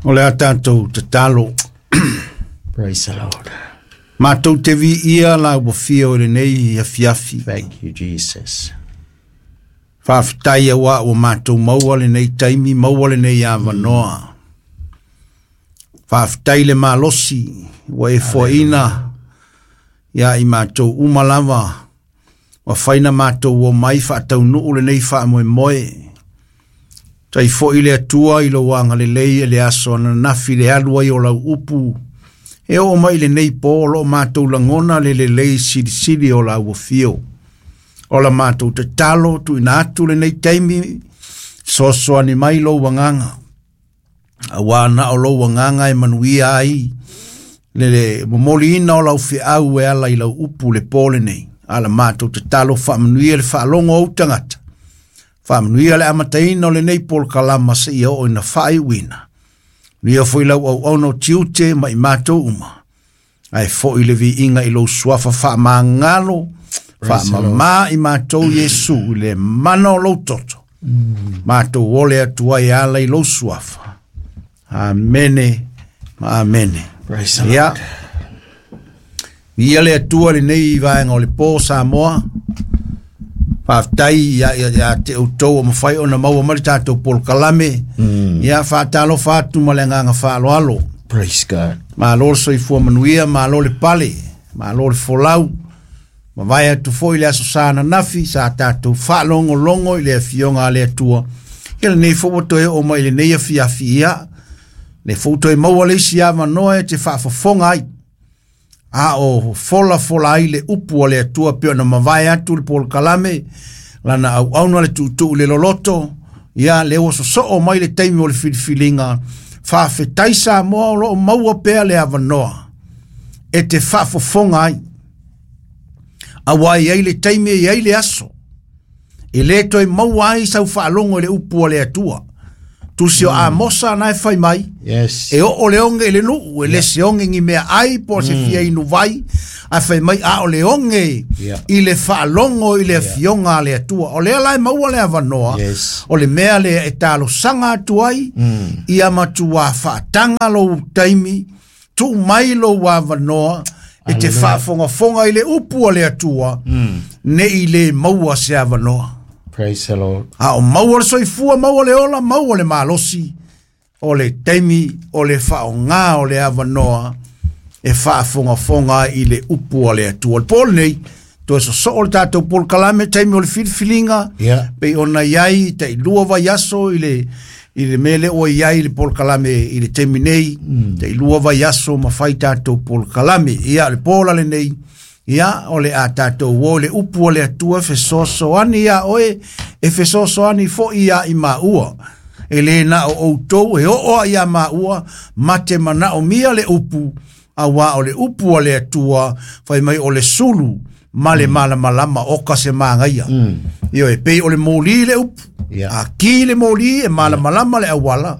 O le a tatou tatalo. Praise the Lord. Matou te viia la ua fia o lenei afiafi. Thank you, Jesus. Faafetai auā ua matou maua lenei taimi, maua lenei avanoa. Faafetai le malosi ua e foaina ia i matou uma lava, ua faina matou o mai faataunuu lenei faamoemoe. Tai foi le Atua i lou agalelei e le aso ananafi le alu ai o lau upu. E oo mai lenei po o loo matou lagona le lelei silisili o lau afio. O la matou tatalo tuuina atu lenei taimi, soasoani mai lou agaga. Auā na o lou agaga e manuia ai le momoliina o lau feau e ala i lau upu le po lenei. A la matou tatalo faamanuia le faalogo o ou tagata. Faamanuia le amataina o lenei polokalama seia oo ina faaiuina. Manuia foi lau auauna o tiute ma i matou uma. Ae foi le viiga i lou suafa faamagalo, faamamā i matou Iesu i le mana o lou toto. Matou ole atu ai e ala i lou suafa. Amene ma amene. Praise the Lord. Ia. Ia le Atua lenei vaega o le po Samoa. Faafetai ia, ia, ia te outou o mafai ona maua mai le tatou polokalame. Ia faatalofa atu ma le agaga faaaloalo. Praise God. Malo le soifua manuia, malo le pale, malo le folau. Mavae atu foi le aso sa ananafi, sa tatou faalogologo i le afioga a le Atua. Ia lenei foi ua toe oo mai i lenei afiafi, ia, le foi toe maua le isi avanoa e te faafofoga ai. A o folafola ai le upu a le Atua pei ona mavae atu le polokalame, lana auauna le tuutuu i le loloto, ia lea ua sosoo mai le taimi o le filifiliga. Faafetai Samoa o lo o maua pea le avanoa e te faafofoga ai. Auā e i ai le taimi e i ai le aso e le toe maua ai sau faalogo i le upu a le Atua. Tusi o Amosa na e fai mai, Yes. e oo le oge i le nuu, e le se oge ni mea ai po o se fia inu vai, ae fai mai a o le oge i le faalogo i le afioga a le Atua. O lea la e maua le avanoa, Yes. o le mea lea e talosaga atu ai, ia matua faataga lou taimi, tuu mai lou avanoa e te faafogafoga i le upu a le Atua, ne i le maua se avanoa. Praise the Lord. A o maua le soifua, maua le ola, maua le malosi, o le taimi o le faaaoga o le avanoa e faafogafoga ai i le upu a le Atua. O le po lenei, toe sosoo le tatou polokalame, taimi o le filifiliga, pei ona i ai tai 2 vaiaso i le mea lea ua i ai i le polokalame i le taimi nei, tai 2 vaiaso ma fai tatou polokalame. Ia, le po la lenei, ia, o le a tatou o le upu o le Atua fesoasoani ia oe, e fesoasoani foi ia i maua. E le na o outou e oo a ia maua, ma te manaomia le upu, auā o le upu a le Atua, fai mai o le sulu ma le malamalama o ka se magaia. Ioe, pei o le moli le upu. A ki le moli e malamalama le auala,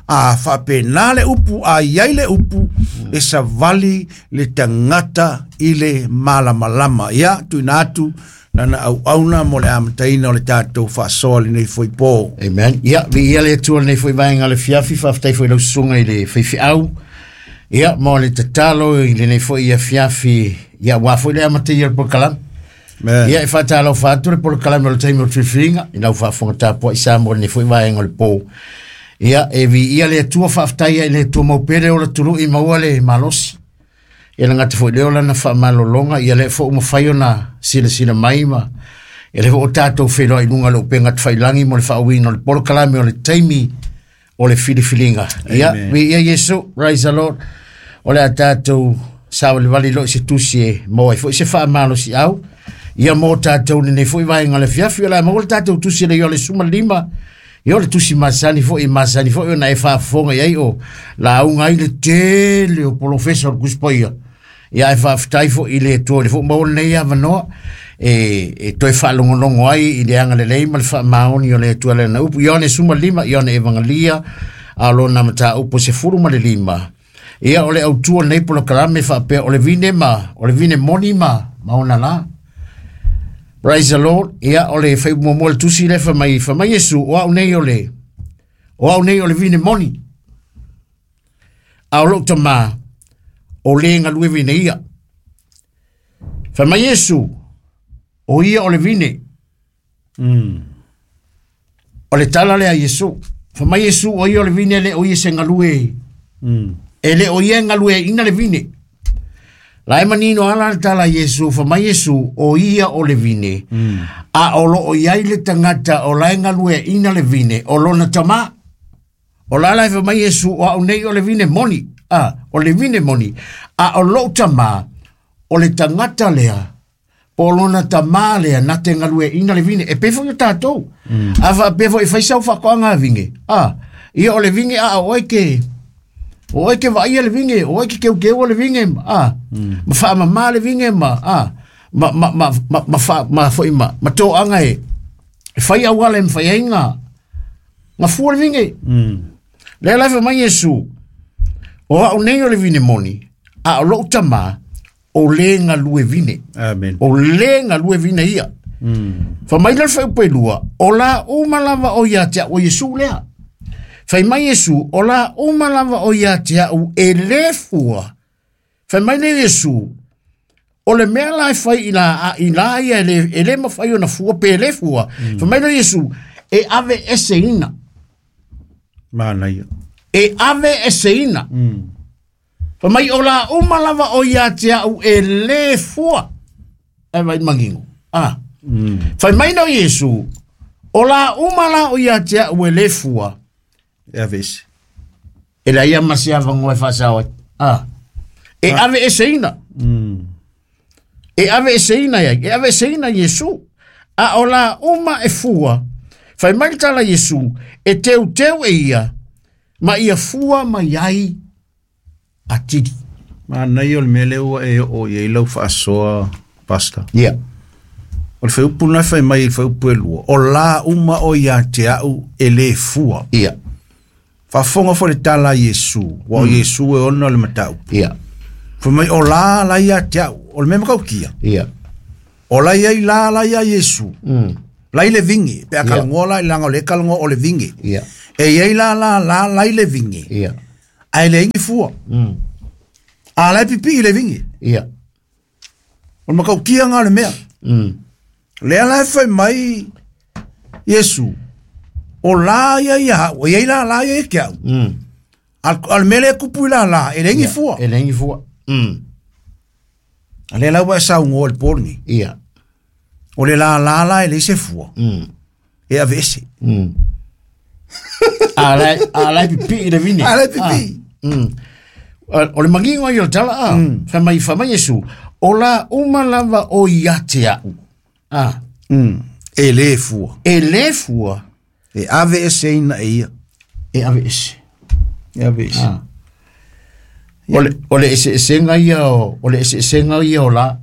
a faapena le upu, a iai le upu, e savali le tagata i le malamalama. Ia, tuuina atu lana auauna mo le amataina o le tatou faasoa lenei foi po. Amen. Ia, viia le Atua lenei foi vaega o le afiafi, faafetai foi i lau susuga i le faifeau. Ia, mo le tatalo i lenei foi afiafi, ia, aua foi le amataia o le polokalame. Amen. Ia, e faatalofa atu le polokalame o le taimi o le filifiliga, i lau faafofoga tapuai Samoa i lenei foi vaega o le po. Ia, e viia le Atua, faafetai ai i le Atua mau pea le ola tului maua le malosi. Ia le gata foi lea o lana faamalologa, ia lea foi ua mafai ona silasila mai ma ia lea foi ua tatou feiloai i luga o le upega tafailagi mo le faauiina o le polokalame o le taimi o le filifiliga. Ia, viia Iesu, praise the Lord. O le a tatou savalivali loa i se tusi e maua ai foi se faamalosiau. Ia mo tatou lenei foi vaega o le afiafi, o le a maua le tatou tusi le Ioane 15. Ia o le tusi masani foi, masani foi ona e faafofoga i ai o lauga ai le tele o polofesa o le Tusi Paia. Ia ae faafetai foi i le Atua i le foi maua lenei avanoa e toe faalogologo ai i le agalelei ma le faamaoni o le Atua i lana upu. Ioane 15, Ioane Evangelia, a o lona mataupu 15. Ia o le autu o lenei polokalame faapea o le vine ma o le vine moni ma ona la. Praise the Lord. Ia o le fai muamua le tusi lea fai mai Iesu, o au nei o le o au nei o le vine moni. A o lou tamā, o le galue vine ia. Fai mai Iesu, o ia o le vine. O le tala lea a Iesu. Fai mai Iesu, o ia o le vine, e le o ia se galue. E le o ia e galueaiina le vine. La e manino ala le tala a Iesu, fai mai Iesu, o ia o le vine. A o loo i ai le tagata o la e galueaiina le vine, o lona tamā. O la la e fai mai Iesu, o au nei o le vine moni. A, o le vine moni. A o lou tamā, o le tagata lea, po o lona tamā lea, na te galueaiina le vine. E pei foi o tatou. A faapea foi e fai sau faatoaga a vine. A, ia o le vine a o oe ke, o oe ke vaaia le vine, o oe ke keukeua le vine, a, ma faamamā le vine ma, a, ma, ma, ma, ma, ma, fa, ma, foi ma, ma toaga e, e fai auala e mafai ai ga, ga fua le vine. Lea la e fai mai Iesu, o au nei o le vine moni, a o lou tamā, o le galue vine. Amen. O le galue vine ia. Fai mai le fuaiupu e lua, o la uma lava o ia te au o Iesu lea. Fai mai Iesu, o la uma lava o ia te au e le fua. Fai mai le Iesu, o le mea la e fai i la, a, i la ia e le, e le mafai ona fua pe le fua. Fai mai le Iesu, e ave eseina. Manaia. E ave eseina. Fai mai o la uma lava o ia te au e le fua. E vai mangingo. Ah. Fai mai no Iesu, o la uma la o ia te au e le fua. E ave ese. E la ia ma se avangoa e faasao ai. Ah. E ave eseina. E ave eseina ia, e ave eseina Iesu. A o la uma e fua, fai mai le tala Iesu, e teu teu e ia, ma ia fua mai ai atili. Manaia o le mea lea ua e oo i ai lau faasoa, Pastor. Ia. O le fuaiupu lena e fai mai i le fuaiupu e lua, o la uma o ia te au e le fua. Ia. Faafofoga foi le tala a Iesu, ua o Iesu e ona le mataupu. Ia. Fai mai o la la ia te au, o le mea matautia. Ia. O la ia i la la ia Iesu. La i le vingi, pe a kalagoa la i langa o le kalagoa o le vingi. Ia. E iai la la la la i le vingi. Ia. Ae le ingi fua. A la e pipi i le vingi. Ia. O le matautia ngā o le mea. Lea la e fai mai Iesu, o la ia ia hau, o iai la la ia ia ke au. A le mea lea e kupu i la la, e le ingi fua. E le ingi fua. A lea la ua e saunoa i le po lenei. Ia. O le la la la e leai se fua. E ave ese. A la, a la e pipii le vine. A la e pipii. O le mangingo ai o le tala a. Fai mai, fai mai Iesu, o la uma lava o ia te au. A. E le fua. E le fua. E ave ese ina e ia. E ave ese. E ave ese. A. O le, o le eseesega ia o, o le eseesega ia o la.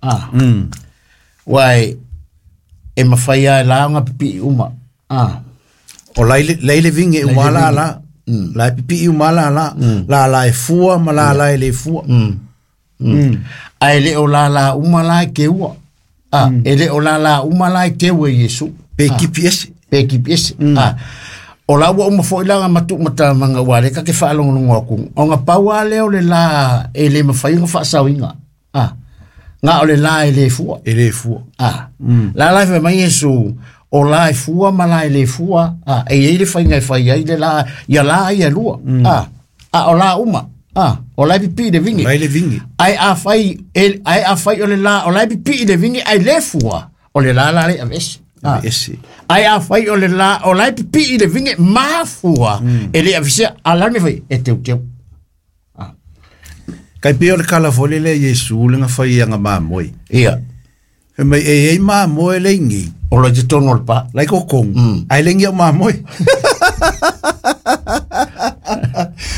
A. Uae, e mafai lava e la ona pipii uma. A. O lai le, lai le vingi e uma la la. La e pipii uma la la. La la e fua ma la la e le fua. Ae le o la la uma la e keua. A, e le o la la uma la e keu e Iesu. Pe kipi ese. Pe kipi ese. A. O la ua uma foi la matu mata manga ua le ka ke whaalongolongo aku. O ngā pau a leo le la e le mawhai ngā whaasauinga. A. Ngā o le la e le fua. E le fua. A. La la e whai mai Iesu, o la e fua ma la e le fua. A. E ei le whainga e whai ai le la, ia la ia lua. A. A o la uma. A. O la e pipi le vingi. La e le vingi. Ai a whai, e, ai a whai o le la, o la e pipi le vingi, ai le fua. O le la la le avese. A. Ese. Ai a whai o le la, o la e pipi le vingi, ma fua. E le avese, a la me whai, e teu teu. Kai pei o le kala foi lele Iesu le nga whai anga mamoe. Ia. Fai mai e ei mamoe le ingi. O la te tono o le pa. Lai ko kong. Ai le ingi o mamoe.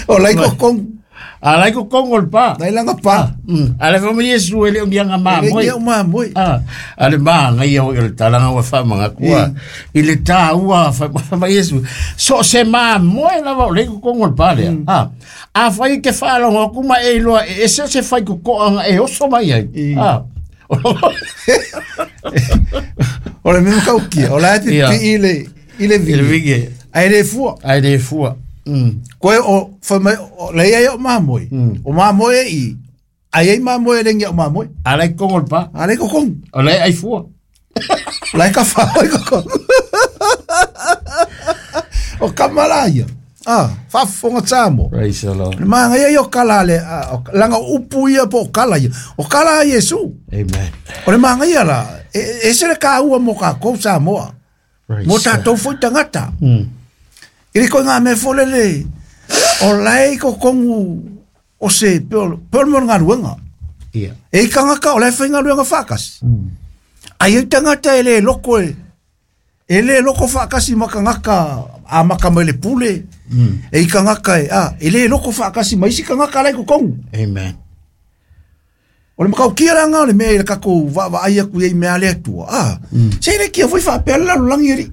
O lai ko kong. A lai ko kong o le pa. Lai langa pa. A le whai Iesu e le ongi anga mamoe. Le ingi o mamoe. A, a le maa ngai au i o le talanga ua wha kua. I le tā ua wha mai Iesu. So se mamoe lava o le ko kong o le pa lea. A, a whai ke whaalongo aku ma e iloa e ese se whai ko koanga e oso mai ai. A. O le mea kaukia. O la e Ia. pipi i le, i le I le vingi. vingi. Ai le fua. Ai le fua. Koe o fai mai o le ia o mamoe. O mamoe i ai ai mamoe le ngia o mamoe. Ala i kongo le pa. Ale ko kong. O le ai fua. Lai ka fa oi ko kong. O kamala ia. Ah, faafofoga Samoa. Praise the Lord. Le magaia ia o kala le langa upu ia po o kala ia. O kala a Iesu. Amen. O le magaia la, e se le kāua mo kākou Samoa. Praise Mo God. tātou foi tagata. I le koe ngā mea fo lele, o lai ko kongu o se pe o mo ngaluenga. Ia. E i kangaka o lai whai ngaluenga whakasi. Ai e tangata e le loko e le loko whakasi makangaka a maka mai le pule. E i kangaka e, e le loko whakasi mai isi kangaka lai ko kongu. Amen. O le makau kia ranga o le mea i le kako wa ai aku i mea le atua. Se le kia foi whapea le lalolangi eri.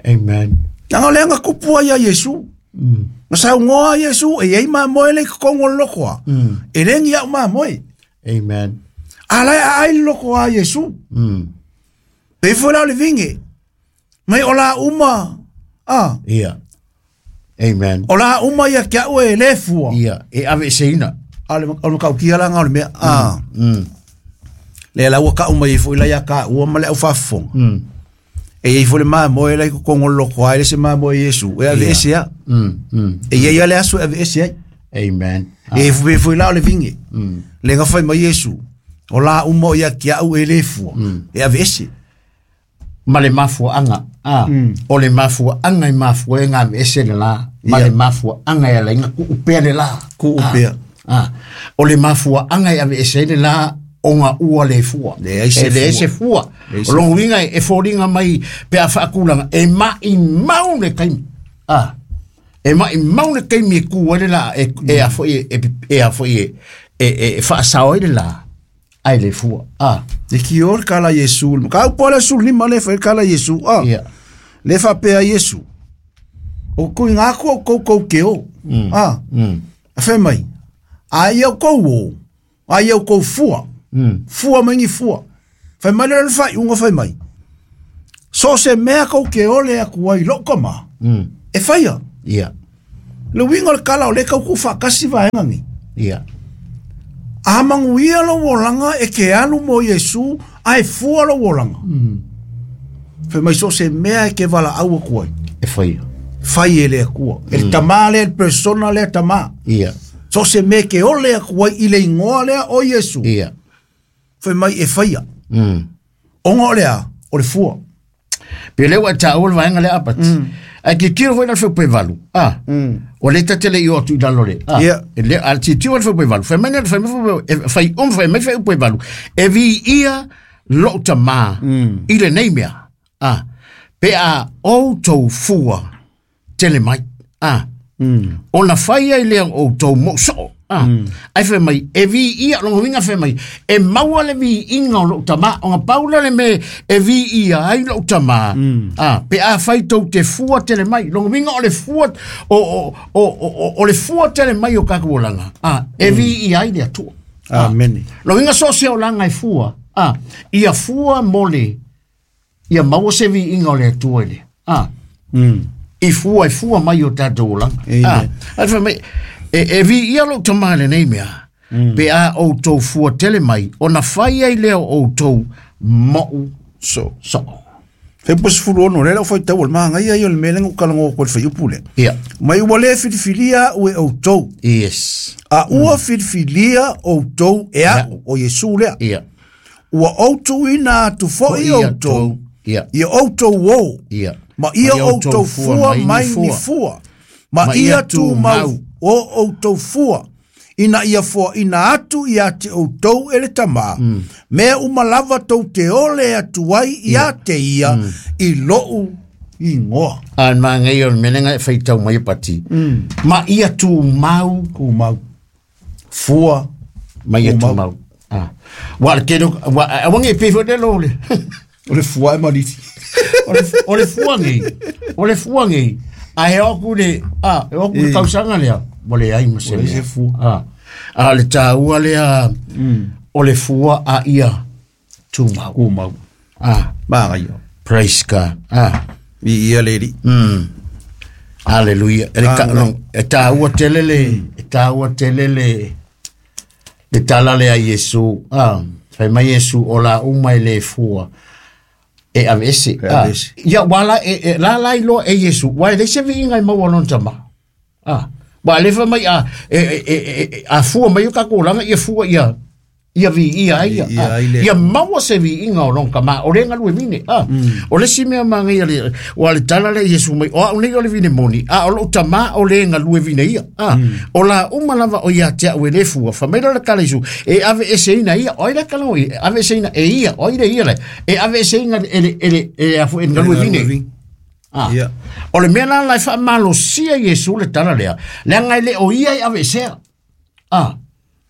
Amen. Nanga o le anga kupua ia Iesu. Na sau ngoa Iesu e ei maa moe le kongo lokoa. E lengi au maa moe. Amen. A lai a ai loko a Iesu. Pe foi la o le vinge. Mai o la uma. Ia. Amen. O la uma ia kia ue le fua. Ia. E ave se ina. A le makau kia ranga o le mea. Le la ua ka uma i foi la ia ka ua ma le au whafonga. E i foi le maa moe lai ko kongo loko ai le se maa moe Iesu. E ave ese a. E ia ia le aso e ave ese ai. Amen. E foi la o le vinge. Le nga fai mai Iesu. O la uma ia kia au e le fua. E ave ese. Ma le mafua anga. O le mafua anga i mafua e ngā ese le la. Ma le mafua anga e la inga ku upea le la. Ku upea. O le mafua anga e ave ese le la o ngā ua le fua. Le ai se E le ese fua. O longu winga e fōringa mai pe a whaakulanga. E mai mau le kaimi. E mai mau le kaimi e ku le la. E a foi e a foi e whaasao e le la. Ai le fua. E ki or kala Iesu. Ka upo le sul ni ma le fai kala Iesu. Le fa pea Iesu. O kui ngā kua kou kou ke o. A fai mai. A ia kou o. A ia kou fua. Fua mai ni fua. Fai mai le fai unga fai mai. So se mea kou ke o le aku ai loko ma. E whaia. Ia. Le winga le kala o le kau ku whakasi vaenga ni. Ia. A manguia lo wolanga e ke alu mo Iesu a e fua lo wolanga. Fai mai so se mea e ke wala au aku ai. E whaia. Whai e le akua. E tamā le persona le tamā. Ia. So se mea ke ole aku ai i le ingoa lea o Iesu. Ia. Fai mai e whaia. Onga o lea, o le fua. Pe leo a tā ua vaenga le apati. Ai ki kiro foi na feu pe valu. O le tatele i o atu i lalo le. Ia. E le a ti tio feu pe valu. Fai mai na fai mai fai fai mai fai pe valu. E vi ia lo tama i le nei mea. Pe a o tau fua tele mai. O na fai ai lea o tau mo so. Ai fai mai, e vi ia, longo winga fai mai, e maua le vi inga o lou tamā, o ngā paula le me, e vi ia ai lou tamā. Pe a fai tau te fua tele mai, longo winga o le fua, o le fua tele mai o kaku o langa. E vi ia ai le atua. Amen. Longo winga so se o langa e fua. Ia fua mole, ia maua se vi inga o le atua ele. I fua, e fua mai o tātou o langa. Ai fai mai, e vi ia lou tamā le nei mea, pe a o tau fua tele mai, o na whai ai leo o tau mou So. so. Fai pos fulu ono, le lau fai tau o le maanga ia i o le melenga o kalango ko le fai upu le. Ia. Mai ua le filifilia ue o tau. Yes. A ua filifilia o tau e au, o Iesu lea. Ia. Ua o tau ina atu foi o tau. Ia. Ia o tau o. Ia. Ma ia o tau fua mai ni fua. Ma ia tu mau o tau fua. Ina ia fua ina atu ia te o tau e le tamā. Mea umalava tau te ole atu ai ia te ia i lou ingoa. An maa ngai o le melenga e whai tau mai e pati. Ma ia tu mau. Ku mau. Fua. Ma ia tu mau. Wa le kero, wa a wangi e pewheo le lo le. O le fua e mariti. O le fua ngai. O le fua ngai. A he oku le, he oku le kausanga lea. Mo le ai ma se mea. fua. A le tāua lea, o le fua a ia tu mau. Ku mau. Maa ia. Praise God. I ia lady. Hallelujah. E ka no e tāua tele le e tāua tele le tala le a Iesu. Ah, fai mai Iesu o la uma e le fua. E avese. Ah, ia wala e la la ilo e Iesu. Wa le se vi ingai mau lon tama. Ah, wa le fa mai a e a fua mai ka ko langa ia fua ia ia vi ia ia ia maua se vi inga o lon kama o lenga lue vine ah o le si mea manga ia le o le tala le Iesu mai o nei o le vine moni a o lo tama o lenga lue vine ia ah o la uma lava o ia te au le fua fa mai la kala Iesu e ave ese ina ia o ile kala o ave ese ina e ia o ile ia le e ave ese ina ele ele e afu e lue vine ah o le mea la la fa malo sia Iesu le tala lea le ngai le o ia ave ese ah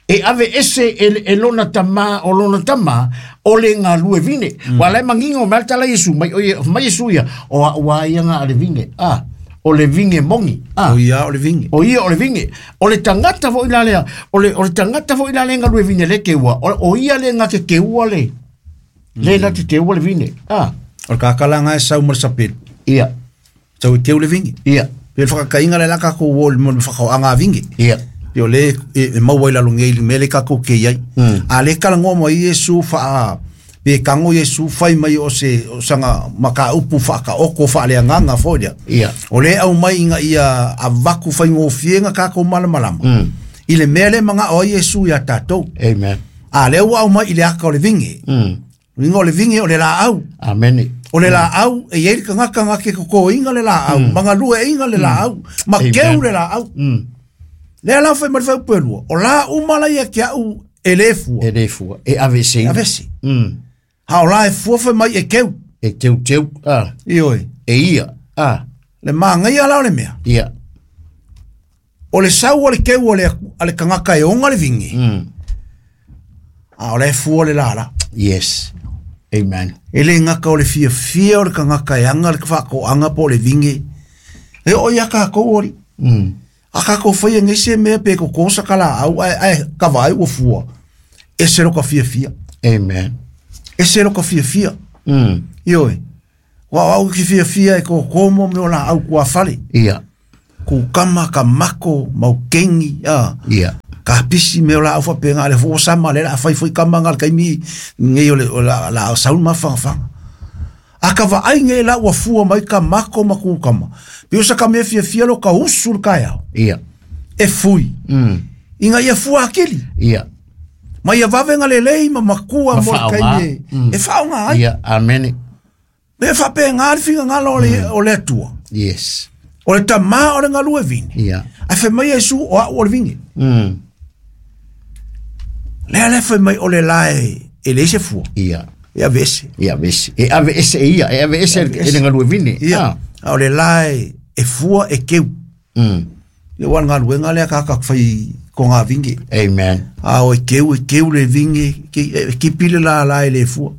e ave ese e lona tama o lona tama o le ngā lue vine. Wa le mangingo mai tala Iesu mai o mai Iesu ia o a wa ia ngā le vine. Ah, o le vine mongi. Ah, o ia o le vine. O ia o le vine. O le tangata fo ila lea, o le tangata fo ila le ngā lue vine le ke ua. O ia le ngā te ua le. Le ngā te ua le vine. Ah, o le kakala ngā e sau mo le sapelu. Ia. Sau e teu le vine. Ia. Pe le whakakainga le laka ko o le mo le whakaoanga vine. Ia. Yo le e maua ila longe i mele ka ko ke ai a le kala ngoma Iesu fa pe kango Iesu fai mai o se o sanga maka upu fa ka oko fa le nganga fo ia o le au mai inga ia avaku fai ngofienga ka ko malamalama i le mele manga o Iesu ia tatou. Amen. A le au mai i le aka o le vinge vingo le vinge o le la au. Amen. O le la au e ia ka ngaka ke ko inga le la au manga lue inga le la au ma keu le la au. Le la fai mai fai pelua. O la uma la ia kia u e le fua. E le fua. E avese. Avese. Ha o la e fua fai mai e keu. E teu teu. Ah. I oi. E ia. Ah. Le maanga ia la o le mea. Ia. O le sau o le keu o le, a le kangaka e onga le vingi. A o le fua le la la. Yes. Amen. E le ngaka o le fia fia o le kangaka e anga le whako anga po le vingi. E o ia ka ori. A ka ko whai ngai se mea pe ko kosa kala au ai ka vai o fua. E se ro ka fia fia. Amen. E se ro ka fia fia. Ioi. Wa au ki fia fia e ko komo me ola au kua fale. Ia. Ku kama ka mako mau kengi. Ah. Ia. Ka pisi me ola au whapenga le fo sama le la whai fui kama ngal kaimi ngai o le la saun ma whanga. A ka wa ai ngai la ua fua mai ka mako ma ku kama. Pe osa ka mea fia fia lo ka usu le kai au. Ia. E fui. Inga ia fua akili. Ia. Ma ia wawenga le lei ma makua mo le kai e whaonga ai. Ia, amen. Me whape ngā whinga ngā o le atua. Yes. O le tamā o le ngalue vine. Ia. A whai mai Iesu o au o le vinge. Lea le whai mai o le lae e le se fua. Ia. E avese. E avese. E avese e ia. E avese e le ngalue vine. Ia. A o le lae e fua e keu. Ia wan ngaluenga lea kaka whai ko ngā vinge. Amen. A o e keu le vinge, ki pile la la e le fua.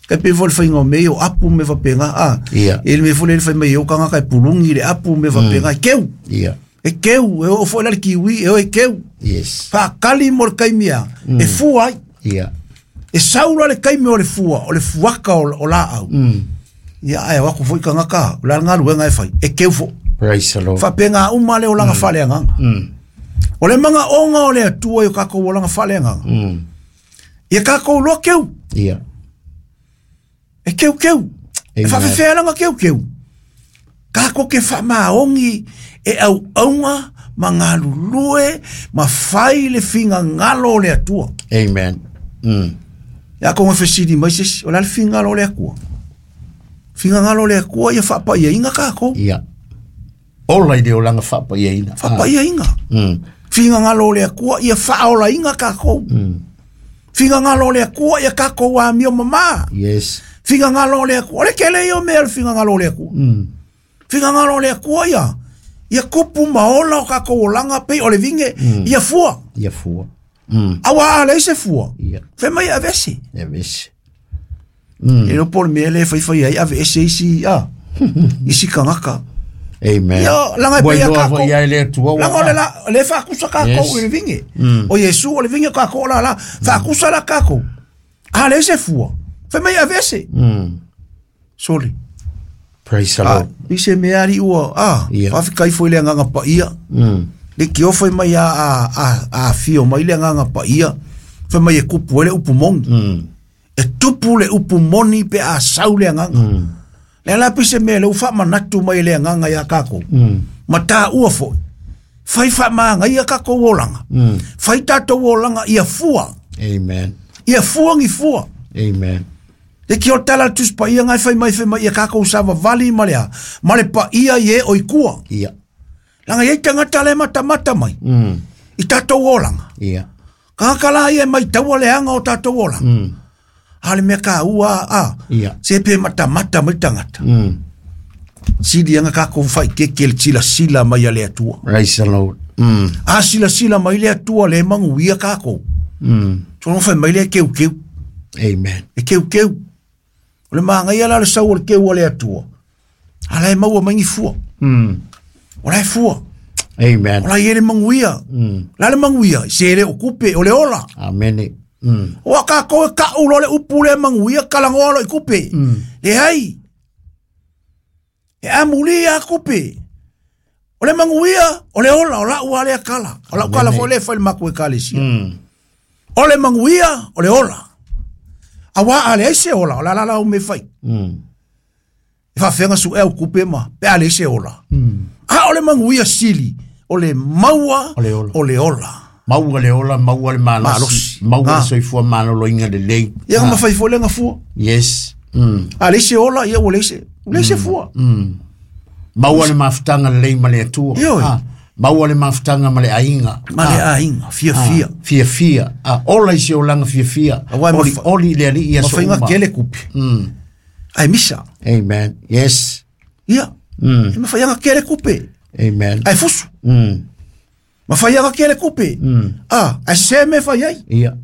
Kai pe fo le whainga me o apu me whapenga. A, ia. E le me fo le whai mai o kanga kai pulungi le apu me whapenga. E keu. Ia. E keu, e o fo le kiwi, e o e keu. Yes. Whakali mo le kaimia, e fua ai. Ia. E saura le kaimia o le fua, o le fuaka o la au. Ia, ai, wako fo i kangaka, o la ngaluenga e whai, e keu fo. Praise the Lord. Whapenga uma le o langa whale anganga. O le manga onga o le atua i o kako o langa whale anganga. Ia kako loa keu. Ia. E keu keu. E whawhewhea langa keu keu. Kako ke whamaongi e au aunga ma ngā lulue ma whai le whinga ngalo o le atua. Amen. Ia konga whesiri mai sesi, o la le whinga ngalo o le atua. Whinga ngalo o le atua ia whapa ia inga kako. Ia. Ola i le olanga whapa ia ina. Whapa ia inga. Whinga ngalo o le atua ia whaola inga kako. Whinga ngalo o le atua ia kako wa mio mama. Yes. Whinga ngalo o le atua. O le kele i o mea le whinga ngalo o le atua. Whinga ngalo o le atua ia. Ia kupu maola o kako olanga pe o le vinge. Ia fua. Ia fua. Awa a leise fua. Ia. Whai mai avese. Avese. E no pole mea le whai whai ai avese isi a. Isi kangaka. Amen. Ia langa pe ia kako. Ia le atua. Langa o le la le whakusa kako i le vinge. O Iesu o le vinge kako la la. Whakusa la kako. A leise fua. Whai mai avese. Sorry. Praise the Lord. I se mea ari ua, whawhikai fo i le anganga pa ia. Le ki ofai mai a fio mai le anganga pa ia. Fai mai e kupu ele upu mongi. E tupu le upu moni pe a sau le anganga. Le ala pise mea le uwha manatu mai le anganga ia kako. Ma tā ua foi. Fai wha maanga ia kako olanga. Fai tātou olanga ia fua. Amen. Ia fua ngi fua. Amen. Le ki o tala tuspa ia ngai fai mai ia kako sava vali ma lea. Ma le pa ia ye o ikua. Ia. Langa ia tangata le mata mata mai. I tātou olanga. Ia. Kakala ia mai taua le anga o tātou olanga. Ale mea ka ua Ia. Se pe mata mata mai tangata. Sili anga kako whai keke le sila sila mai a le atua. Praise the Lord. A sila sila mai le atua le mangu ia kako. Tono whai mai le keu keu. Amen. E keu keu. O le maanga ia la le sau o le keu a le atua. Ala e maua mangi fua. O la e fua. Amen. O la ia le mangu ia. La le mangu ia. Se le okupe o le ola. Amen. O a kako e ka ulo le upu le mangu ia kalangoa lo i kupe. Le hai. E amuli a kupe. O le manguia, o le ola, o la ua le akala. O la ukala fo le fai le maku e kalesia. O le manguia, o le ola. Awa a le se ola, o la la la ume fai. E fa fenga su e au kupe ma, pe a le se ola. A o le manguia sili, o le maua, O le ola. O le ola. Maua le ola, maua le malosi. Maua le soifua malolo inga le lei. Ia ma fai fo le ngafua. Yes. A le se ola, ia o le se. Le se fua. Maua le mafutanga le lei ma le atua. Maua le mafutanga ma le ainga. Ma le ainga, fia fia. Fia fia. Ola i se olanga fia fia. Oli, oli le ali ia so uma. Ma whainga kele kupi. Ai misa. Amen. Yes. Ia. E ma whainga kele kupi. Amen. Ai fusu. Ma whainga kele kupi. Ai se me whai ai. Ia.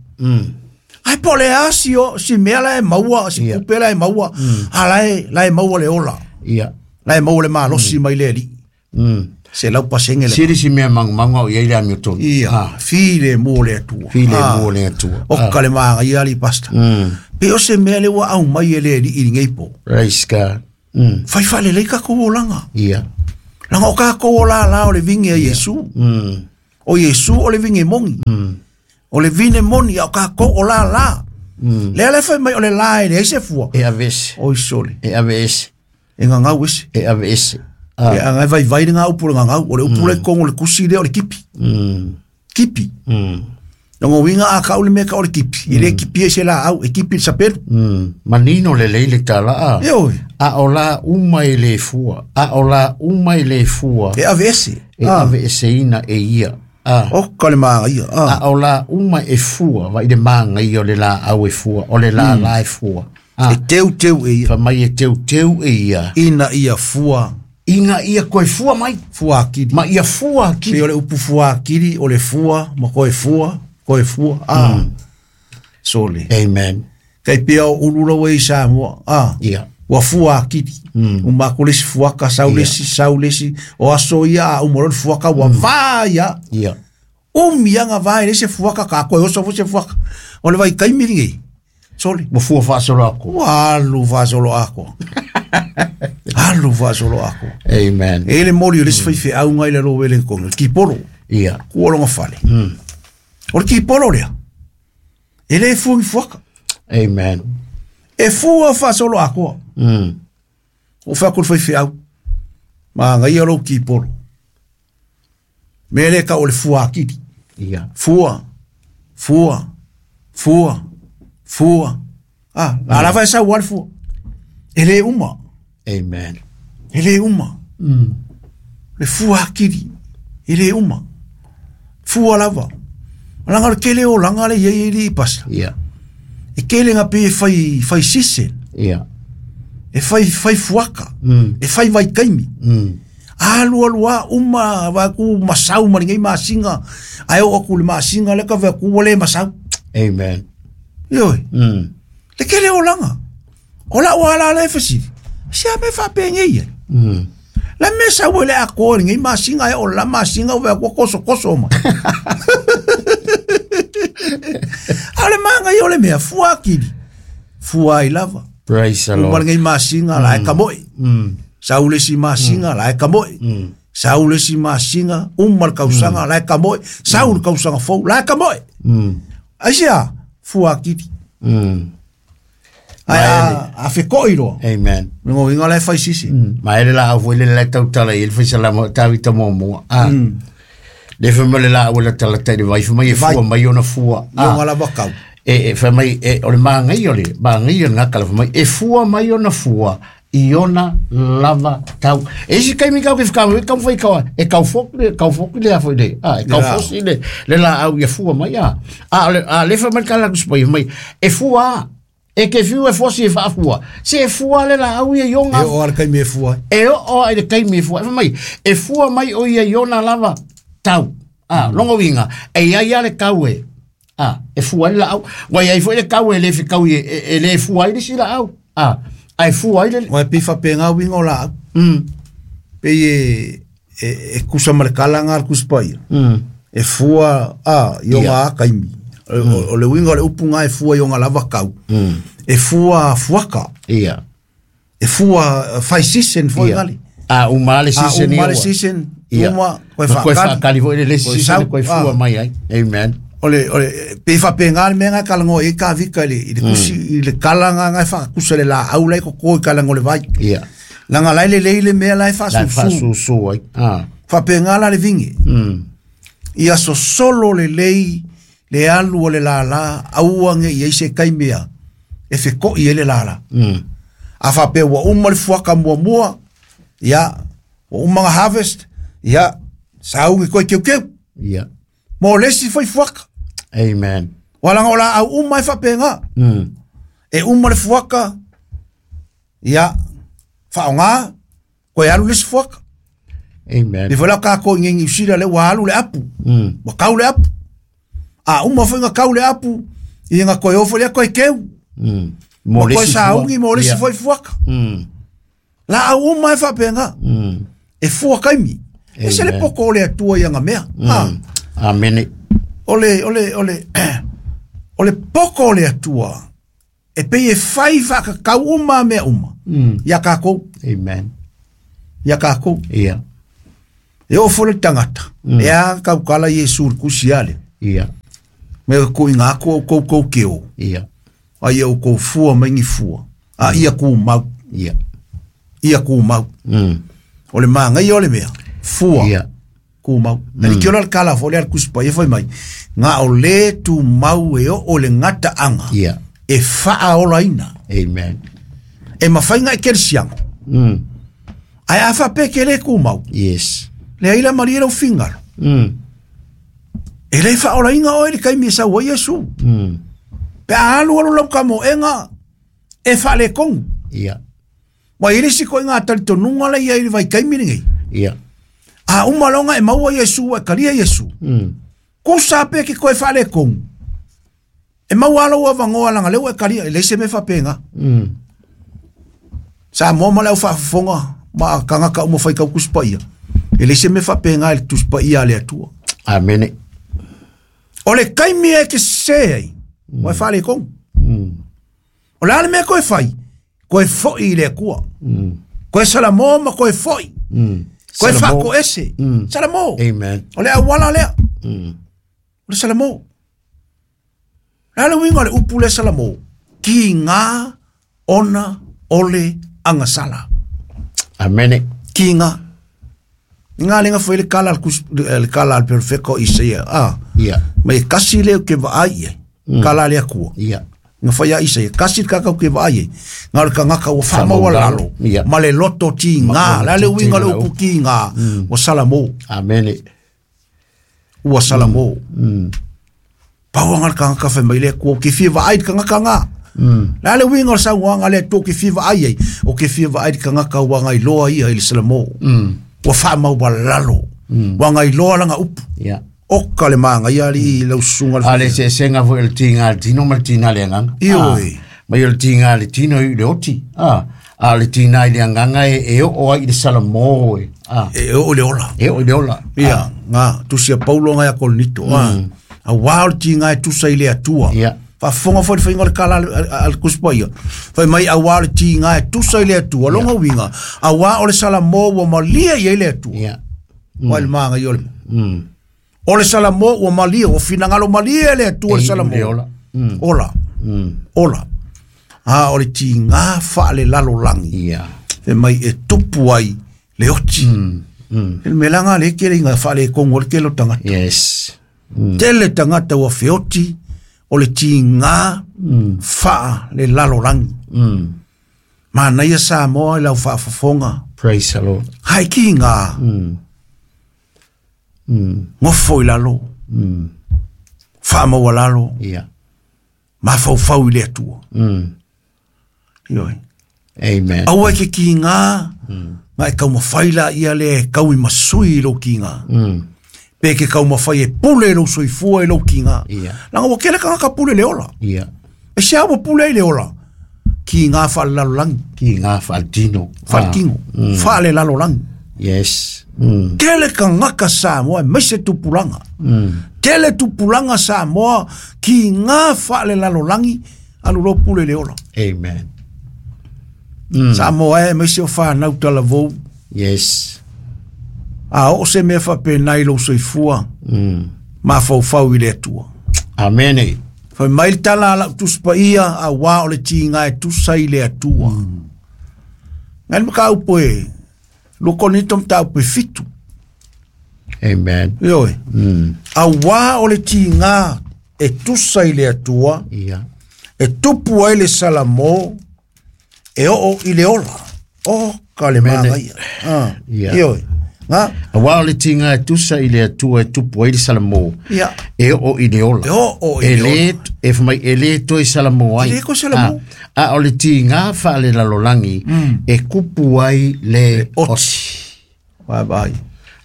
Ai po le a si, o, si mea la e maua, si kupe la e maua. A la e maua le ola. Ia. La e maua le malosi mai le ali. Se lau pasenge le. Siri si mea mangu mangu au ia ila mi tonu. Ia. File mo le atua. File mo le atua. O ka le maanga ia ali pasta. Pe o se mea le ua au mai e le ali i ngei po. Praise God. Fai fale le kako o langa. Ia. Langa o kako o la la o le vinge a Yesu. O Yesu o le vinge mongi. O le vine moni au kako o la la. Le ale fai mai o le la e le se fua. E avese. O isole. E avese. E ngangau ese. E avese. E angai vai vai ngā upu le ngangau. O le upu le kongo le kusi le o le kipi. Kipi. Ngo winga a ka o le meka o le kipi. I le kipi e se la au. E kipi le sapelu. Manino le leile tala a. E oi. A o la uma e le fua. A o la uma e le fua. E avese. E avese ina e ia. O ka le maanga ia. A o la uma e fua. Vai le maanga ia o le la au e fua. O le la la e fua. E teu teu e ia. Fa mai e teu teu e ia. Ina ia fua. Ina ia koe fua mai. Fua akiri. Ma ia fua akiri. Pe o le upu fua akiri, o le fua, ma koe fua, koe fua. Sole. Amen. Kei pia o ulula i Samoa. Ia. Ua fua akiri. Umako lesi fuaka, sau lesi, sau lesi. O aso ia, umoro le fuaka, ua vā ia. Ia. Umianga vā e lesi fuaka, ka koe oso fuse fuaka. O le vai kaimiri ngei. Sole. Ua fua whaasolo ako. Ua alu whaasolo ako. Alu whaasolo ako. Amen. E le mori o lesi whai wheau ngai le ro wele konga. Kiporo. Ia. Kua longa fale. O le kiporo lea. E le fua ngi fuaka. Amen. E fua whaasolo ako. O whea kuru whai wheau. Ma ngai alo kiporo. Me le ka o le fua akiri. Ia. Fua. Fua. Fua. Fua. La vai sa wal fua. Ele uma. Amen. Ele uma. Le fua akiri. Ele uma. Fua lava. Langa le kele o langa le ye ye pasa. Ia. E kele nga pe fai fai sise. Ia. E fai fai fuaka. E fai vai kaimi. Alu alua uma va ku masau ma ngai masinga. Ai o ku le masinga le ka va ku le masau. Amen. Ioi. Le kele o langa. O la wala le fesi. Si a me fa penge ia. La mesa wele a ko ngai masinga e o la masinga va ku koso koso ma. Ale manga yo le mea fua kiri. Fua i lava. Praise the Lord. Uma ngai masinga la e kamoi. Sau le isi masina la e kamoe. Sau le isi masina, uma le kausaga la e kamoe. Sau le kausaga fou la e kamoe. Aisea? Fua akili. Ae a feko'i loa. Amen. Le goiga la e fai sisi. Ma ele la au foi le la tautala i le faisalama o Tavita muamua. Le fai mai le laau e latalata i le vai, fai mai e fua mai ona fua. I ona lava kau. E fai mai, o le māngai o le māngai o le gakala, fai mai e fua mai ona fua i ona lava tau. E isi taimi kau ke whakau, e kau whai kau, e kau foku le, kau foku le afo i le, e kau fosi le, le la au ia fua mai, a. A, le, a, le fai mai kala kusipai, mai, e fua, e ke fiu e fosi e whaafua. Se e fua le la au ia i ona. E o ale kaimi e fua. E o ale kaimi e fua. E fai mai, e fua mai o ia i ona lava tau. A, longo winga, e ia ia le kau e. A, e fua le la au. Wai ai fua le kau e le whikau i e le fua i le si la au. A, ai fua i le... Wai pifa pe ngā winga o la au. Pe e kusa ma le kala ngā kuspa ia. E fua, a, i o ngā kaimi. O le winga o le upu ngā e fua i o ngā lava kau. E fua fuaka. E fua fai season foi ngali. A, uma le season. A, uma le season. Uma, koe whaakali. Koe whaakali foi le season, koe fua mai ai. Amen. O le, pe whape ngā le mea ngā kalango e ka vika i le kusi, i le kala ngā ngā whakakusa le la au lai koko i kalango le vai. Langa lai le leile mea lai whaasusu. Lai whaasusu ai. Whape ngā la le vinge. Ia so solo le lei, le alu o le lala, aua nge i eise kai mea, e wheko i ele lala. A whape ua uma le fuaka mua mua, ia, ua uma ngā harvest, ia, saungi koe keu keu. Mō lesi whai fuaka. Amen. Walanga o la au uma e whape ngā. E uma le fuaka, ia, whao ngā, koe alu lesi fuaka. Amen. Le whala ka ko ngengi usira le wa alu le apu. Wa kau le apu. A uma whainga kau le apu, i ngā koe ofo lea koe keu. Mō koe saungi, mō lesi whai fuaka. La au uma e whape ngā. E fua kaimi. E se le poko o le atua i anga mea. Amen. O le poko o le atua, e pei e whai whakakau uma mea uma. Ia kākou. Amen. Ia kākou. Ia. E ofo le tangata. E a kaukala Iesu le kusi ale. Ia. Me ko i ngā koa o koukou keo. Ia. A ia o kou fua maingi fua. A ia kou mau. Ia. Ia kou mau. O le maangai o le mea. Fua. Ia. Kou mau. Na ni kiola le kala fo le al kusipa ia fai mai. Ngā o le tu mau e o le ngata anga. Ia. E whaa ola ina. Amen. E mawhainga e kerisiango. Ai a whape ke le kou mau. Yes. Le aila maria lau fingaro. E le whaola inga oe le kaimi e saua Iesu. Pe a alu alu lau ka moenga e whaale kongu. Ia. Wa i risi koe ngā talitonunga le ia i le vai kaimi ringi. Ia. A umalonga e maua Iesu e karia Iesu. Ko sape ki koe whaale kongu. E maua alo ua vangoa langa leo e karia e leise me whapenga. Sa moa ma leo whaafonga ma kangaka uma whai kaukuspa ia. E leise me whapenga e le tuspa ia le atua. Amen. O le kaimi e ke se ai, o e whale kongu. O le ale mea koe whai, koe foi i le akua. Koe salamo ma koe foi. Koe whako ese. Salamo. Amen. O le awala lea. O le salamo. Le ale winga le upu le salamo. Ki ngā ona ole angasala. Amen. Ki ngā. Ngā lenga fo le kala le kala al perfecto Isaia. Ah. Ia. Me kasi le ke vaai ai. Kala le akua. Ia. Nga fai a Isaia kasi ka ke vaai ai. Nga le kangaka o fa maua lalo. Ma le loto ti ngā, la le winga le upu ki ngā. O salamo. Amen. Ua salamo. Pau nga le kangaka fai mai le akua ke fia vaai le kangaka ngā. La le winga o sa wanga le to ke fia vaai ai. O ke fia vaai le kangaka wa ngai loa ia i le salamo. Ua wha mau lalo. Wa ngai loa langa upu. Ia. Oka le maanga ia li lau sunga le. A le se senga fo el tinga le tino ma le tina le anganga. Ioi. Mai o le tinga le tino i le oti. A le tina i le anganga e o ai i le salamo e. E o le ola. E o le ola. Ia, ngā, tusia Paulo ngai a Korinito. A wā o le tinga e tusa i le atua. Ia. Faafofoga foi le faiga o le tala a le Tusi Paia. Fai mai auā o le tiga e tusa i le Atua. Lona uiga, auā o le Salamo ua malie i ai le Atua. Ua le magaia o le O le Salamo ua malie, ua finagalo malie le Atua le Salamo. Ola. Ola. Ola. A o le tiga faalelalolagi. Fai mai e tupu ai le oti. Le mea laga le kele inga faaletonu o le tele o tagata. Yes. Tele tagata ua feoti o le tiga faalelalolagi. Manaia Samoa i lau faafofoga. Praise the Lord. Hai kiga. Gofo i lalo. Faamaualalo. Mafaufau i le Atua. Ioe. Amen. Aua e ke kiga, ma e taumafai laia lea e tau i masui i lou kiga. Pe ke taumafai e pule i lou soifua i lou kiga. Laga ua kele tagata pule le ola. E se ua pule ai le ola. Kiga faalelalolagi. Kiga faaletino. Faaletino. Faalelalolagi. Yes. Tele tagata Samoa aemaise tupulaga. Tele tupulaga Samoa kiga faalelalolagi alu loa pule le ola. Amen. Samoa e aemaise o fanau talavou. Yes. A oo se mea faapena i lou soifua. Mafaufau i le Atua. Amen. Fai mai le tala a lau Tusi Paia, auā o le tiga e tusa i le Atua. Ngai le mataupu e 2 Korinito mataupu e 7. Amen. Ioe. Auā o le tiga e tusa i le Atua. E tupu ai le Salamo e oo i le ola. O ka le magaia. Ioe. Auā o le tiga e tusa i le Atua e tupu ai le Salamo. E oo i le ola. E oo i le ola. E fai mai e le toe Salamo ai. E le toe Salamo. A o le tiga faalelalolagi e kupu ai le oti. Bye bye.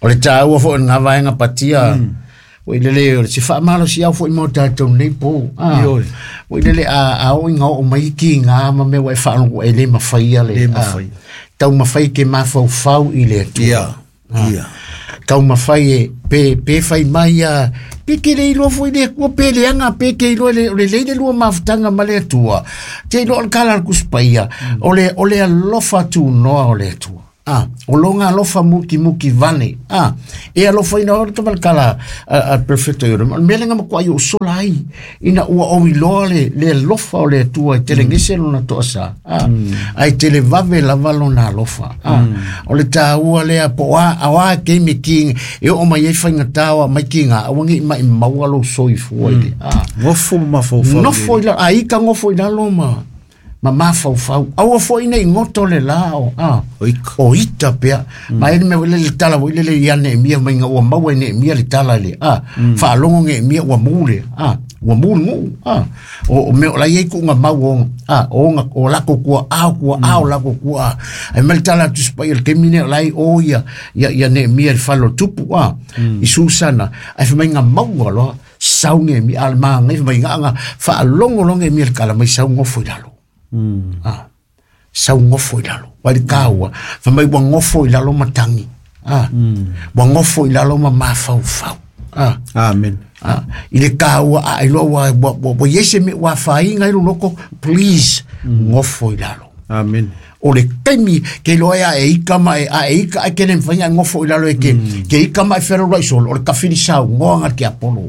O le tāua foi ngā vaenga patia. O i lele o le se faamalosi au foi mo tātou nei pō. O i lele a o inga o mai ki ngā ma mea wa e whaalongo e le mawhaia le. Le mawhaia. Tau mawhai ke mafaufau i le Atua. Tau mawhai e pe whai mai a pe ke le iloa foi le Atua pe le anga pe ke iloa le o le leile lua mafutanga ma le Atua. Te iloa o le kala le kuspaia. O le alofa tūnoa o le Atua. O longa alofa muki muki vane. E alofa ina o te kala a perfecto i ora. Mele nga makua i o sola ai. Ina ua o iloa le alofa o le Atua i tele ngese lona toa sa. Ai tele vave lava lona alofa. O le tāua lea po a ke me ki e o mai e whainga tāua mai ki ngā awangi mai maua lo soifua i le. Ngofo mafaufau. Ngofo i la, a ika ngofo i lalo ma. Ma mafaufau. Aua foi nei ngoto le la o. O ita pea. Ma ele me le tala o le ia ne mia mai ua maua ne mia le tala le. Whaalongo nge mia ua mule. Ua mule ngu. O me o la iei ku ngā mau o. O ngā o lako kua au kua au lako kua. Ai me le tala tu spai el kemine o lai o ia ia ne mia le whalo tupu. I Susana. Ai whamai ngā maua loa. Sau nge mia alma ngai whamai ngā ngā whaalongo longe mia le kala mai sau ngofo i lalo. Sau ngofo i lalo. Wai kāua. Whamai ua ngofo i lalo matangi. Ua ngofo i lalo ma mafaufau. Amen. I le kāua a iloa ua iese me ua whainga i loko, please, ngofo i lalo. Amen. O le taimi ke loa ea e ika ma e a e ika ai kene mwhainga ngofo i lalo e ke ke ika ma e whero rai solo o le kawhiri sau ngoanga ke Apollo.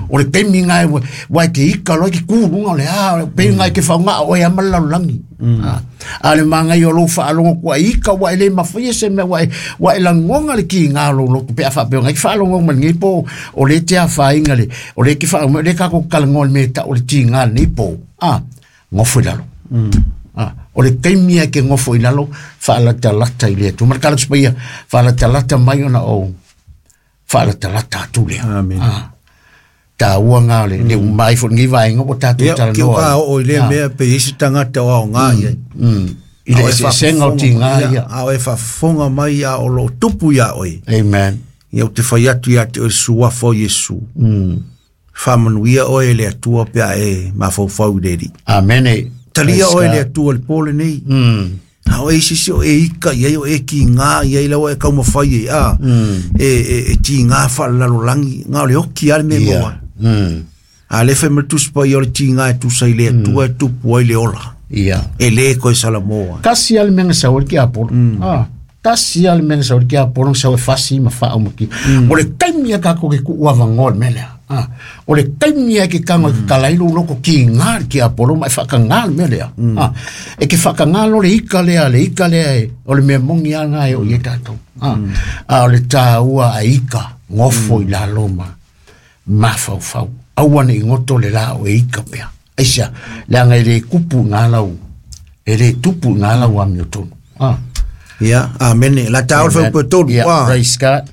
O le taimi ngai wa ke ika loa ke kūrunga o le a pe ngai ke whaunga o e amala langi. A le mangai o lo whaalongo kua ika wa e le mawhia se mea wa e langonga le ki ngā lo loto pe a whapeo ngai whaalongo ma ngai po o le te a whainga le o le ki whaongo le kako kalango le mea ta o le ti ngā nei po. Ngofo i lalo. O le taimi ke ngofo i lalo whaalatalata i le atu. Mara kala tupaia whaalatalata mai ona o whaalatalata atu lea. Amen. Tā ua ngā le, le umai fo ngi vaenga o tātou tala noa. Ia, ki o i le mea pe isi tangata o ao ngā ia. I le esesenga o ti ngā ia. A o e whafonga mai a o lo tupu ia oe. Amen. Ia o te whai atu ia te oe suafa o Yesu. Whamanuia oe le atua pea e mafaufau le ri. Amen. Talia oe le atua le pole nei. A o e sisi o e ika ia o e ki ngā ia i lawa e kaumawhai e a. E ti ngā whalalalolangi. Ngā o le oki ale me moa. A le fai ma le Tusi Paia o le tiga e tusa i le Atua e tupu ai le ola. Ia. E lē koe salamoa. Tasi lava le mea na sau ai le tiapolo. Tasi lava le mea na sau ai le tiapolo na sau e fasi ma faaumaki. O le taimi a tatou ke tuu avanoa le mea lea. O le taimi a ke tago e tatala ai lou loto kiga le tiapolo ma e faatagā le mea lea. E te faatagā loa le ika lea, le ika lea e, o le mea moni lava lena e oo i ai tatou. A o le tāua a ika, nofo i lalo ma mafaufau. Aua ne i goto le la o e ika pea. Aisea, leaga e lē tupu i gā lau, e lē tupu i gā lau amiotonu. Ia, amene. La tāua le faaupu e tolu. Ia, praise God.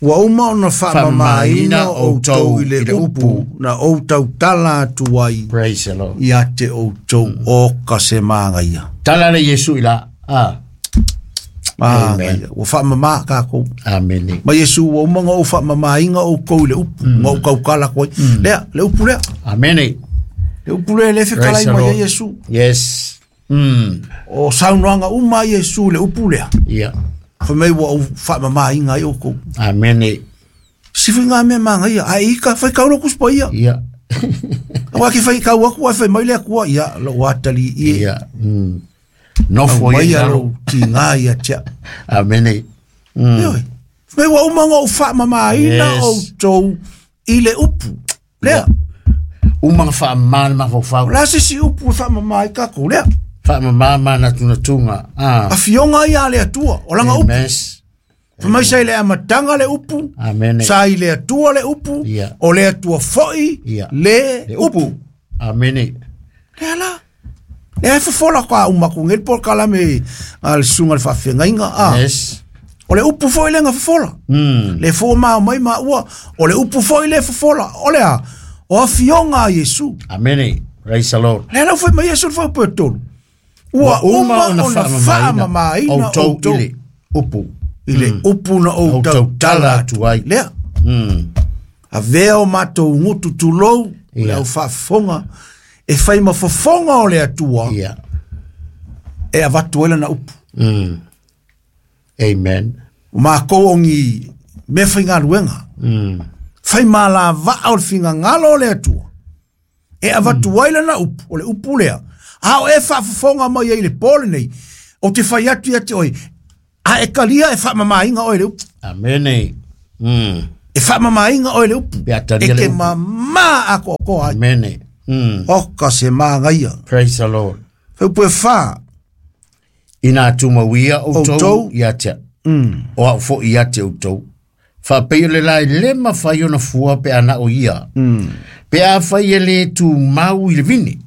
Ua uma ona faamamāina outou i le upu na ou tautala atu ai Praise the Lord. ia te outou o ka se magaia. Tala le Iesu i la. Magaia. Ua faamamā kākou. Amene. Ma Iesu ua uma ona ou faamamāina outou i le upu, na ou tautala atu ai. Lea, le upu lea. Amene. Le upu lea e le fetalai Praise the mai ai Lord. Iesu. Yes. O saunoaga uma a Iesu i le upu lea. Ia. Fai mai ua ou faamamāina ai outou. Amene. Sifi ngā mea magaia. Ai ika, fai kau lo kuspa ia. Ia. Aua ki fai kau aku, ai fai mai le akua. Ia, lo atali i. Ia. Nofo Mai i ia lalo. lo tiga ia tia. Amene. Ioi. Fai mai ua uma ona ou faamamāina Yes. outou i le upu. Lea. Uma na faamamā le mafaufau. O la se si upu e faamamā ai kākou lea. Faamamā manatunatuga. Afioga ia a le Atua. O langa upu. Amen. Fai mai sa i le amataga le upu. Amene. Sa i le Atua le upu. Ia. O le Atua foi Ia. le Le upu. upu. Amene. Lea la. Lea e fofola ka uma ku ngel por kalame a le sunga le faafegaiga a. Yes. O le upu foi le fofola. Le fo ma mai ma ua o le upu foi le fofola. O le a o afioga a Iesu. Amene. Praise the Lord. Lea lau fai mai Iesu le fai upu e tolu. Ua uma ona faamamāina outou outou i le upu. i le upu na ou Outou tautala tala atu atu ai. Lea. Avea o matou gutu tulou, Ia. le au faafofoga, e fai ma fofoga o le Atua, Ia. e avatu ai lana upu. Amen. O makou ogi mea faigaluega. Fai malavaa o le figagalo o le Atua, e avatu ai lana upu, o le upu lea. A o e faafofoga mai ai le po lenei, o te fai atu ia te oe, a e kalia e faamamāina oe le upu. Amene. E faamamāina oe le upu. Pe a talia E le ke upu. mamā akoakoa ai. Amene. O ka se magaia. Praise the Lord. Fai upu e whā. Ina tumauia outou Outou. ia te. O au fo ia te outou. Faapei o le la e le mafai ona fua pe ana o ia. Pe a fai e le tu mau i le vini.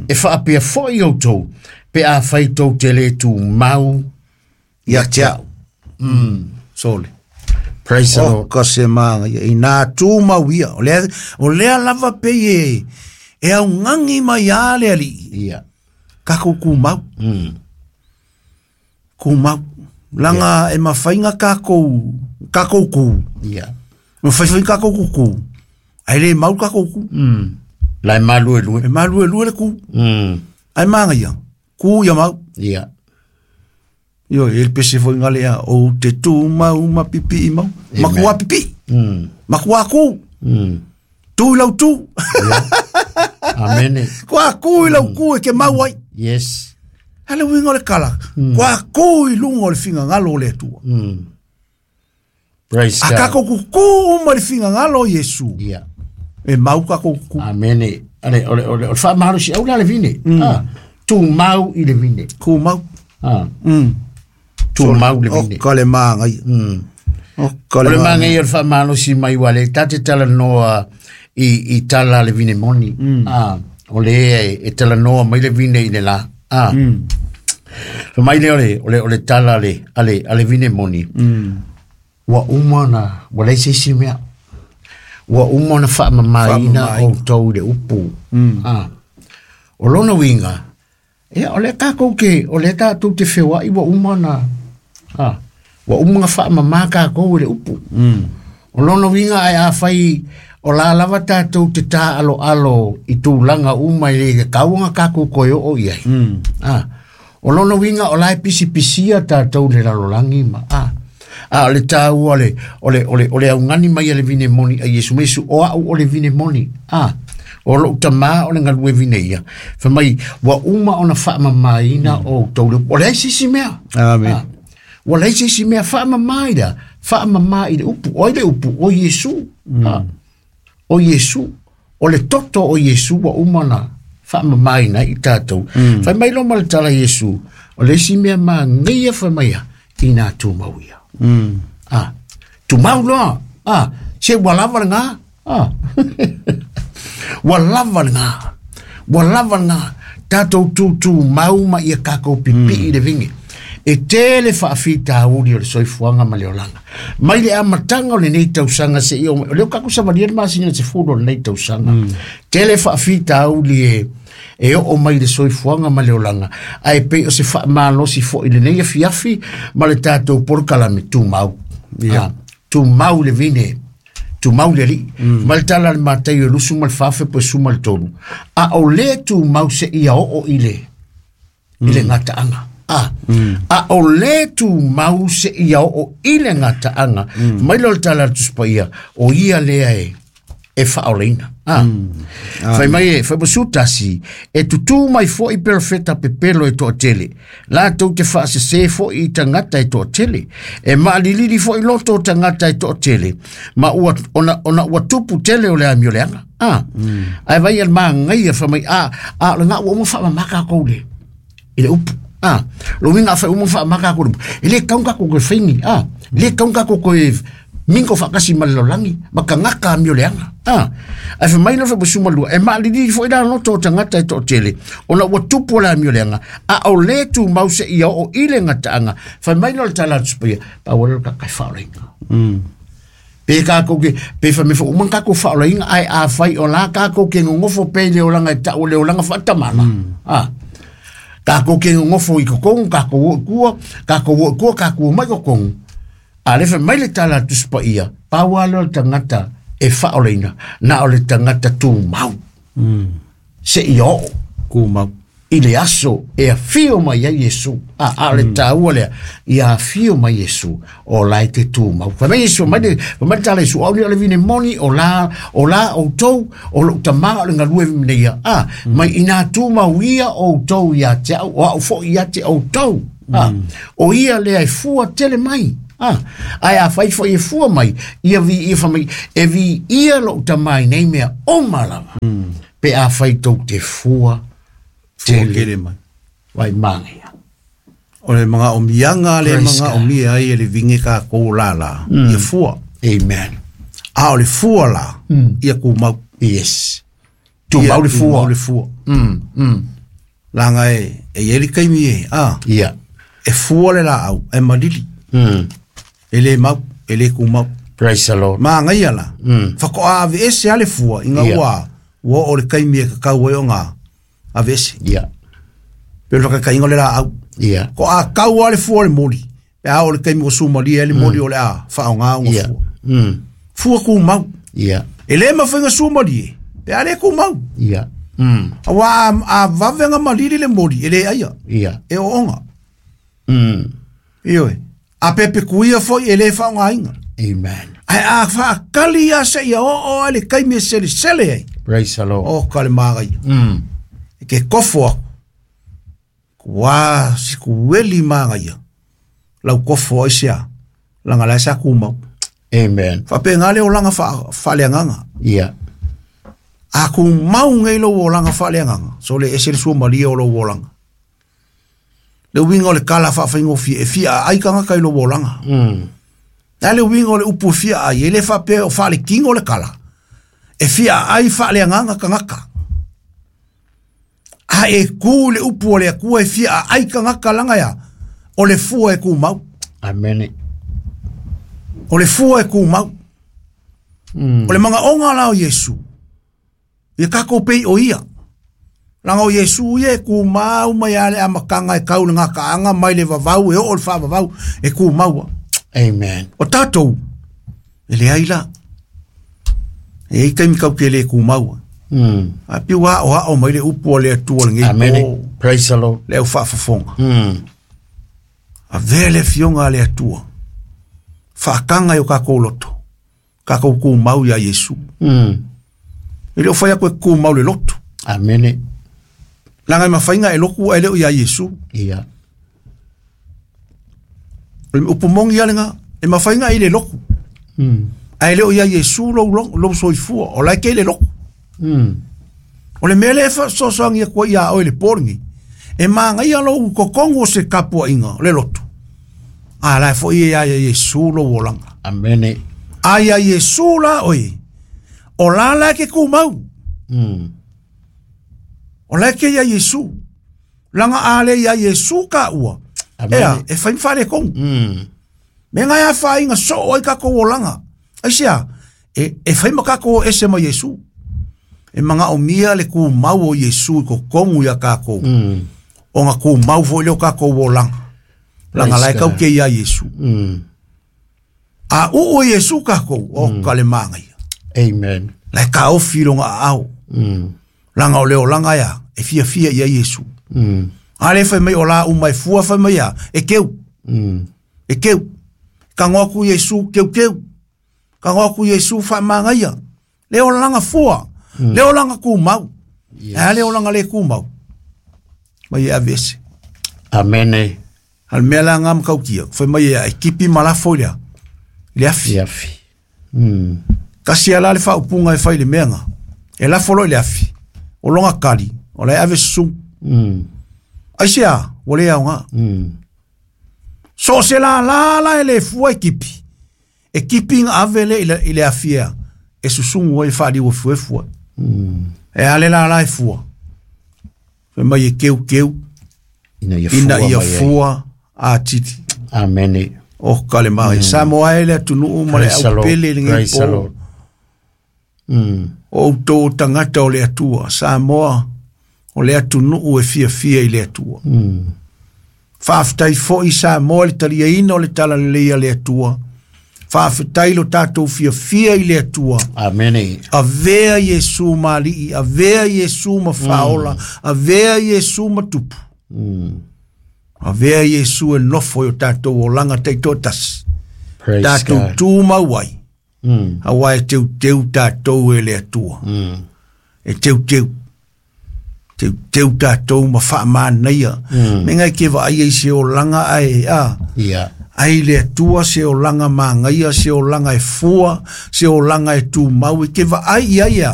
E faapea foi outou. Pe a fai tou te le tu mau. Ia te au. Sole. Praise the O Lord. ka se magaia. Ina tumauia. O lea lava pe e e au ngangi mai a le alii. Ia. Kākou kumau. Kumau. Langa e mawhainga kākou, kākou ku. Ia. Mawhaiwhai kākou kuku. Ai le mau kākou ku. Lai malu e lue. E malu e lue le ku. Ai māngaia. Ku ia mau. Ia. Io, e le pese foi ngale a o te tū mau ma pipi i mau. Makua pipi. Makua ku. Tū i lau tū. Amene. Kua ku i lau ku e ke mau ai. Yes. Hele winga o le kala. Kua ku i lunga o le fingangalo o le Atua. Praise A God. kako kuku uma le fingangalo o Iesu. Ia. E mau kako kuku. Amene. Ale, ole, ole, ole, whaamahalo si au la le vine. Tu mau i le vine. Ku mau. Tu mau le vine. O ka le māngai. O ka O le le māngai. maangai o le faamalosi mai ua le tate talanoa i tala le vine moni. O le e talanoa mai le vine i le la. Fa mai le o le, o le, o le tala le, a le, a le vine moni. Ua uma na, ua leai se isi mea. Ua uma ona faamamāina outou i le upu. O lona uiga, ia o lea tatou ke, o lea tatou te feoai ua uma ona, ua uma ona faamamā takou i le upu. O lona uiga ae afai o la lava tatou te tāaloalo i tulaga uma i le tatau ona tatou toe oo i ai. O lona uiga o la e pisipisia tatou i le lalolagi ma, A o le tāua o le augani mai a le vine moni a Iesu mesu o au o le vine moni. A o lou tamā o le galue vine ia. Fai mai ua uma ona faamamaina o outou le o leai se isi mea. Amen. Ua leai se isi mea faamama i le faamama i le upu. O ai le upu? O Iesu. O Iesu. O le toto o Iesu ua uma ona faamamaina ai i tatou. Fai mai loa ma le tala Iesu, o le isi mea magaia fai mai ia, ina tumau ia. Tumau loa. Se ua lava lena. Ua lava lena. Ua lava lena. Tatou tutumau ma ia kākou pipii i le vine. E tele faafitauli o le soifuaga ma le olaga. Mai le amataga o lenei tausaga seia oo mai, o lea ua tatou savalia le masina 10 o lenei tausaga. Tele faafitauli e oo mai le soifuaga ma le olaga, ae pei o se faamalosi foi i lenei afiafi ma le tatou polokalame tumau. Tumau le vine, tumau le alii. Ma le tala a le Mataio e 24 po 13. A o le tumau seia oo i le i le gataaga. A o le tumau seia oo i le gataaga. Mai loa le tala a le Tusi Paia, o ia lea e faaolaina. Fai mai e, fai mai 11, e tutū mai foi perofeta pepelo e toatele. Latou te faasesē foi i tagata e toatele. E maalilili foi loto o tagata e toatele. Ma ua, ona ua tupu tele o le amio leaga. Ae vai a le magaia fai mai, a o lena ua uma faamama tatou le, i le upu. Lo uiga a fai uma faamama tatou le upu. E le tatau ona tatou toe faini. E le tatau ona tatou toe mingo faatasi ma le lalolagi, ma tagata amio leaga. Ae fai mai le fai 12, e maalilili foi la loto o tagata e toatele, ona ua tupu o le amio leaga, a o le tumau seia oo i le gataaga. Fai mai loa le tala a le Tusi Paia, pau lea o le tagata e faaolaina. Pe kākou ke, pe fai mai foi uma ona tatou faaolaina, ae afai o la kākou ke nonofo pea i le olaga e tau o le olaga faatamala. Kākou ke nonofo i totonu, kākou o i tua, kākou o i tua, kākou o mai i totonu. A le fai mai le tala a le Tusi Paia, pau lava lea o le tagata e faaolaina, na o le tagata tumau. Seia oo. Tumau. I le aso e afio mai ai Iesu. A o le tāua lea, ia afio mai Iesu, o la e te tumau. Fai mai Iesu, mai le, fai mai le tala Iesu, au ni o le vine moni, o la, o la outou, o lou tamā o le galue vine ia. Mai ina tumau ia outou ia te au, o au foi ia te outou. O ia lea e fua tele mai. Ae a fai foi e fua mai, ia vi ia fai mai, e vi ia lou tamā i nei mea uma lava. Pe a fai tou te fua tele. Tele mai. Vai māngia. O le magaomiaga le Praise God. magaomia ai e le vine kākou la la, ia fua. Amen. A o le fua la, ia kumau. Yes. Tumau le fua. Tumau le fua. Langa e i ai le taimi e, Ia. e fua le laau, e malili. E le mau, e le kumau. Praise the Lord. Magaia la. Whakoa ave ese a le fua, inga ua, ua o le taimi e kakau ai o ngā ave ese. Pe o le whakakainga o le laau. Ko a kau a le fua le moli. Pe a o le taimi o sumalia e le moli o le a, whao ngā o ngā fua. Fua kumau. E le mawhainga sumalia, pe a le kumau. Awa a vavenga malili le moli, e le aia. E o onga. Ioe. A pepe kuia foi e le whao ngā inga. Amen. Ai a whaakali a se ia o o a le kaimi e sele sele ai. Praise the Lord. O ka le māgai. E ke kofo aku. Kua si kueli māgai. Lau kofo ai sea. Langa lai sa kumau. Amen. Whape ngā leo langa wha le anganga. A ku mau ngai lo o langa wha le anganga. So le ese le sua maria o lo o langa. Le winga o le kala wha whaingo fia e fia ai kanga kai lo o langa. Na le winga o le upu fia ai, e le wha pe o wha le kingo le kala. E fia ai wha le anganga kangaka. A e ku le upu o le akua e fia ai kangaka langa ya. O le fua e ku mau. Amen. O le fua e ku mau. O le manga onga la o Yesu. Ia kako pei o ia. Langa o Yesu ia e ku mau mai ale a makanga e kau le ngā kaanga mai le vavau e o le wha vavau e ku maua. Amen. O tātou, e le ai la. E i kaimi kau ke le ku maua. A piu a o a o mai le upu o le atua le ngei Amen. po. Praise the Lord. Le au whaafafonga. A vele fionga le atua. Faataga i o tatou loto, tatou tumau ia Iesu. E le o fai atu e tumau le loto. Amene. Leaga e mafai ona e lotu ae le o ia Iesu. Ia. O le upu moni lava lena, e mafai ona e i le lotu. Ae le o ia Iesu lou soifua, o la e te i le lotu. O le mea lea e faasoasoagia atu ai ia oe i le po lenei, e magaia lou totonu o se tapuaiga o le lotu, a la e foi e ia Iesu lou olaga. Amene. A ia Iesu la oe, o la la e te tumau. O la e te ia Iesu. Laga a le ia Iesu ka ua. Amene. Ea, e fai ma faaletonu. Me ngai a whainga so oi kakou olaga. Aisea, e fai ma kakou ese ma Iesu. E manga o mia le ku mau o Iesu i kokongu ia kakou. O nga ku mau fo leo kakou olaga. Langa Praise lai kau God. ke ia Iesu. A uu o Iesu kakou, o ka le maangai. Amen. Lai ka ofi longa au. Langa o leo langa ia, e fia fia ia Iesu. A le fai mai o la umai fua fai mai ia, e keu. E keu. Ka ngoku Iesu keu keu. Ka ngoku Iesu fa mangaia. Le o langa fua. Le o langa ku mau. Yes. A le o langa le ku mau. Mai e avese. Amene. Al mea la ngam kau kia. Fai mai ia e kipi malafo ia. Le afi. Iafi. Kasi ala le whaupunga e whai le meanga. E lafo lo i le afi. O longa kali. O lai ave susu. Aisea, o le au ngā. So se la la la e le fua e kipi. E kipi ngā ave le i le afi ea. E susungu e whaali o fue fua. E ale la la e fua. Fai mai e keu keu. Ina ia fua. Ina ia mai ai. fua a titi. Amene. O ka le mai. Samoa e le atunuu ma le Praise the au Lord. pele le ngei Praise the po. Lord. O tō tangata o le atua. Samoa o le atunuu e fia fia i le atua. Faafetai foi Samoa le taliaina o le talalelei a le Atua. Faafetai lo tatou fiafia i le Atua. Amene. Avea Iesu ma alii, avea Iesu ma faaola, avea Iesu ma tupu. Avea Iesu e nofo i o tatou olaga taitoatasi. Praise Tatou God. tumau ai. Auā e teuteu tatou e le Atua. E teuteu. Teuteu tatou ma faamanaia. Me ngai ke vaai ai se olaga ae a. Ia. Ai le Atua se olaga magaia, se olaga e fua, se olaga e tumau, e ke vaai ia ia.